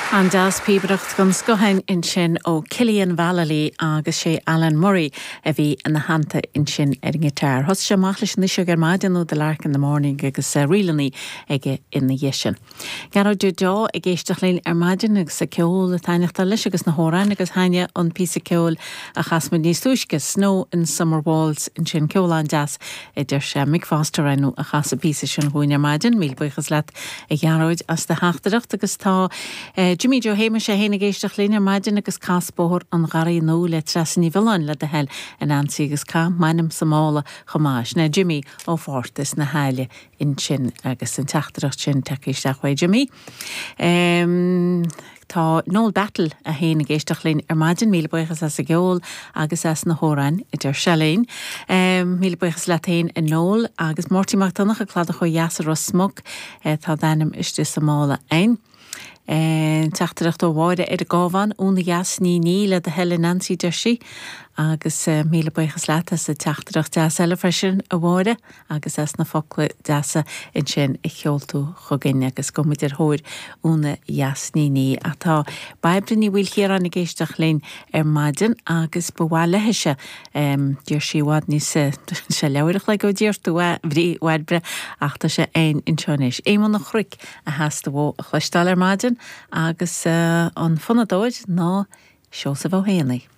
An-deas, píobaireacht den scoth ansin ó Cillian Vallely agus sé Alan Murray a bhí ina theannta ansin ar an ngiotár. Thosaigh sé amach leis an fhuiseog ar maidin nó The Lark in the Morning agus ríleanna aige ina dhiaidh sin. Gearóid Ó Deá ag éisteacht linn ar maidin agus an ceol ag taitneachtáil leis agus na hamhráin agus thaitnigh an píosa ceoil a chas muid níos túisce, Snow in Summer Waltz, ansin ceol an-deas a deir sé. Mick Foster ar ndóigh a chas an píosa sin dhúinn ar maidin. Míle buíochas leat a Ghearóid as do theachtaireacht agus tá Jimí Joe Shéamais é féin ag éisteacht linn ar maidin agus cas Bóthar an Gharraí Nua le Treasa Ní Mhiolláin le do thoil a Nancy agus caith m'ainm sa mála chomh maith. Sin é Jimí ó Phortas na hAille ansin agus an teachtaireacht sin tagtha isteach uaidh Jimí. Tá Noel Battle é féin ag éisteacht linn ar maidin, míle buíochas as an gceol agus as na hamhráin, a deir sé linn. Míle buíochas leat féin a Noel agus Máirtín Mac Donncha, Cladach ó dheas i Ros Muc, tá d'ainm istigh sa mála a'inn. Teachtaireacht ó Mháire ar an gCábhán, Úna Dheas Ní Ní le do thoil a Nancy deir sí agus míle buíochas leat as an teachtaireacht deas eile freisin a Mháire agus as na focla deasa ansin a sheol tú chugainn agus gabhfaidh muid ar thóir Úna Dheas Ní Ní. Ach tá Bairbre Ní Mhaoilchiaráin ag éisteacht linn ar maidin agus ba mhaith léithise D'iarr sí i bhfad níos sé leathuair a chloig ó d'iarr tú a Bhairbre ach tá sé a'inn anseo anois. Éamonn an Chnoic a theastaigh uaithi a chloisteáil ar maidin agus an fonnadóir ná Seosamh Ó hÉanaí.